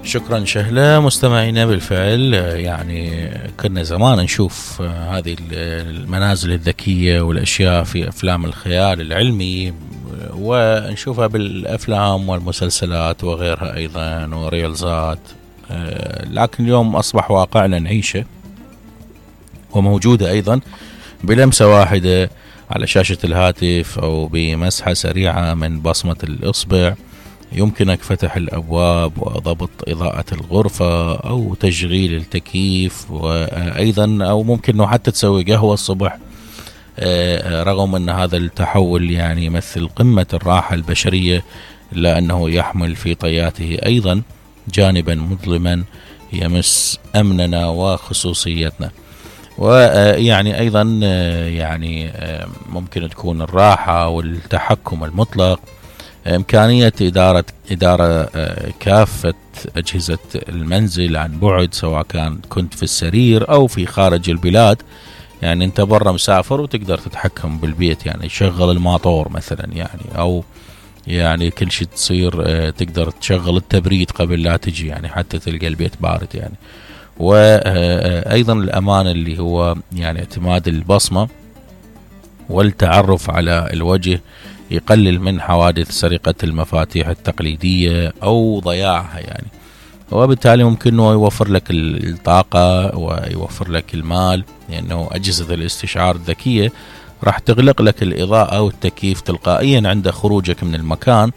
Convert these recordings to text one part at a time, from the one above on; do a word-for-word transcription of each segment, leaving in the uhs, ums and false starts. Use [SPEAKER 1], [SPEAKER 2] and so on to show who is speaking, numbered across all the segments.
[SPEAKER 1] شكرا شهلة. مستمعينا بالفعل يعني كنا زمان نشوف هذه المنازل الذكية والأشياء في أفلام الخيال العلمي، ونشوفها بالأفلام والمسلسلات وغيرها أيضا وريلزات، لكن اليوم أصبح واقعنا نعيشه وموجودة أيضا بلمسة واحدة على شاشة الهاتف أو بمسحة سريعة من بصمة الإصبع. يمكنك فتح الأبواب وضبط إضاءة الغرفة أو تشغيل التكييف، وأيضا أو ممكن أنه حتى تسوي قهوة الصبح. رغم أن هذا التحول يعني يمثل قمة الراحة البشرية، إلا أنه يحمل في طياته أيضا جانبا مظلما يمس أمننا وخصوصيتنا. ويعني أيضا يعني ممكن تكون الراحة والتحكم المطلق، إمكانية إدارة إدارة كافة أجهزة المنزل عن بعد، سواء كان كنت في السرير أو في خارج البلاد. يعني أنت برا مسافر وتقدر تتحكم بالبيت، يعني شغل الماطور مثلا، يعني أو يعني كل شيء تصير تقدر تشغل التبريد قبل لا تجي، يعني حتى تلقى البيت بارد يعني. وأيضا الأمان اللي هو يعني اعتماد البصمة والتعرف على الوجه يقلل من حوادث سرقة المفاتيح التقليدية أو ضياعها يعني. وبالتالي ممكن أنه يوفر لك الطاقة ويوفر لك المال، لأنه يعني أجهزة الاستشعار الذكية راح تغلق لك الإضاءة والتكييف تلقائيا عند خروجك من المكان،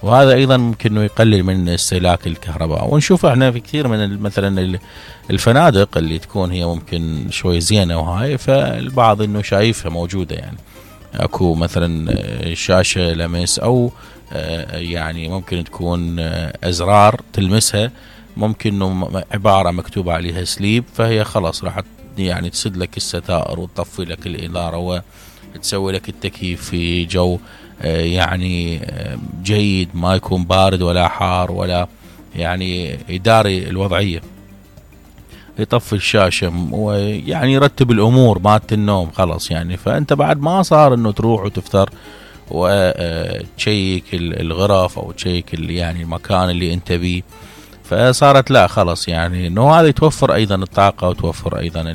[SPEAKER 1] وهذا أيضا ممكن أنه يقلل من استهلاك الكهرباء. ونشوف احنا في كثير من مثلا الفنادق اللي تكون هي ممكن شوي زينة وهاي، فالبعض أنه شايفها موجودة، يعني اكو مثلا شاشة لمس او يعني ممكن تكون ازرار تلمسها، ممكن انه عبارة مكتوب عليها سليب، فهي خلاص راح يعني تسد لك الستائر وتطفي لك الإنارة وتسوي لك التكييف في جو يعني جيد، ما يكون بارد ولا حار ولا يعني يداري الوضعية، يطفي الشاشة ويعني يرتب الأمور مات النوم خلاص يعني. فأنت بعد ما صار أنه تروح وتفتر وتشيك الغرف أو تشيك يعني المكان اللي أنت بيه، فصارت لا خلاص يعني أنه هذا يتوفر أيضا الطاقة وتوفر أيضا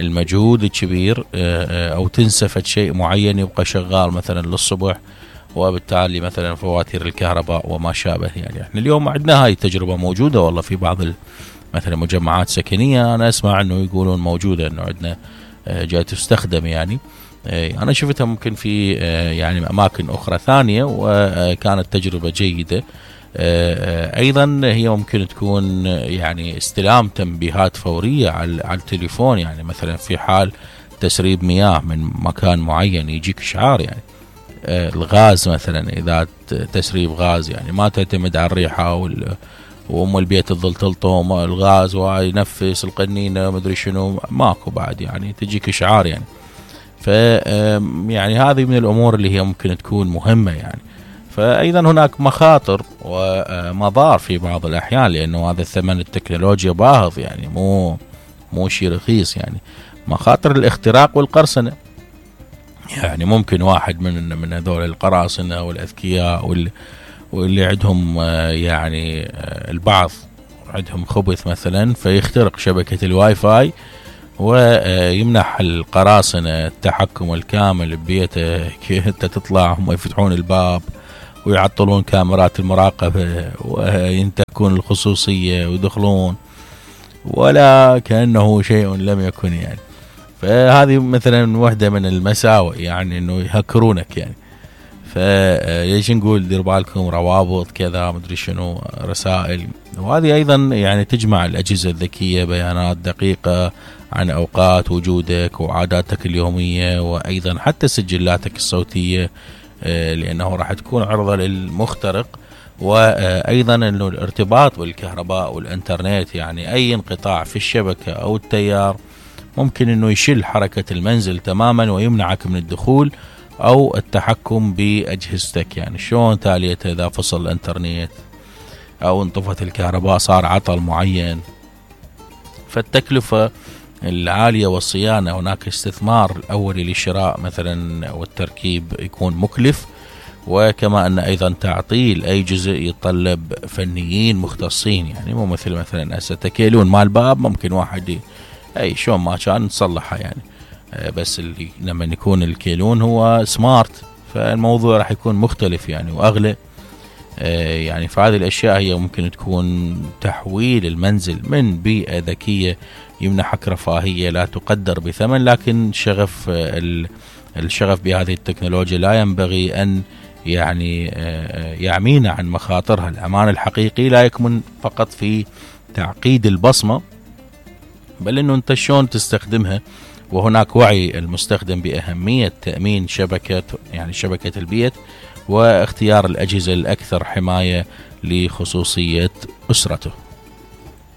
[SPEAKER 1] المجهود الكبير، أو تنسفت شيء معين يبقى شغال مثلا للصبح، وبالتالي مثلا فواتير الكهرباء وما شابه. يعني احنا اليوم عندنا هاي التجربة موجودة والله في بعض مثلا مجمعات سكنية، أنا أسمع أنه يقولون موجودة أنه عندنا جاي تستخدم. يعني أنا شفتها ممكن في يعني أماكن أخرى ثانية وكانت تجربة جيدة. أيضا هي ممكن تكون يعني استلام تنبيهات فورية على التليفون، يعني مثلا في حال تسريب مياه من مكان معين يجيك إشعار. يعني الغاز مثلا، إذا تسريب غاز يعني ما تعتمد على الريحة وال وام البيت تظل تلطم الغاز وينفس القنينه مدري شنو، ماكو بعد يعني تجيك اشعار يعني. ف يعني هذه من الامور اللي هي ممكن تكون مهمه يعني. فايضا هناك مخاطر ومضار في بعض الاحيان، لانه هذا الثمن التكنولوجيا باهظ يعني، مو مو شيء رخيص يعني. مخاطر الاختراق والقرصنه، يعني ممكن واحد من من هذول القراصنه والاذكياء واللي واللي عندهم يعني البعض عندهم خبث مثلا، فيخترق شبكة الواي فاي ويمنح القراصنة التحكم الكامل ببيته. انت تطلع هم يفتحون الباب ويعطلون كاميرات المراقبة وينتهكون الخصوصية ويدخلون ولا كأنه شيء لم يكن يعني. فهذه مثلا واحدة من المساوئ، يعني انه يهكرونك يعني. فليش نقول دير بالكم روابط كذا مدري شنو رسائل. وهذه أيضا يعني تجمع الأجهزة الذكية بيانات دقيقة عن أوقات وجودك وعاداتك اليومية، وأيضا حتى سجلاتك الصوتية، لأنه راح تكون عرضة للمخترق. وأيضا أنه الارتباط بالكهرباء والإنترنت، يعني أي انقطاع في الشبكة أو التيار ممكن أنه يشل حركة المنزل تماما ويمنعك من الدخول أو التحكم بأجهزتك. يعني شلون تاليته إذا فصل الإنترنت أو انطفت الكهرباء صار عطل معين. فالتكلفة العالية والصيانة، هناك استثمار الأولي للشراء مثلا والتركيب يكون مكلف، وكما أن أيضا تعطيل أي جزء يتطلب فنيين مختصين، يعني مو مثل مثلا هسه تكيلون مال باب ممكن واحد أي شلون ما كان تصلحها يعني، بس اللي لما يكون الكيلون هو سمارت فالموضوع راح يكون مختلف يعني وأغلى. يعني فهذه الأشياء هي ممكن تكون تحويل المنزل من بيئة ذكية يمنحك رفاهية لا تقدر بثمن، لكن شغف الشغف بهذه التكنولوجيا لا ينبغي أن يعني يعمينا عن مخاطرها. الأمان الحقيقي لا يكمن فقط في تعقيد البصمة، بل أنه أنت شلون تستخدمها، وهناك وعي المستخدم بأهمية تأمين شبكة يعني شبكة البيت واختيار الأجهزة الأكثر حماية لخصوصية أسرته.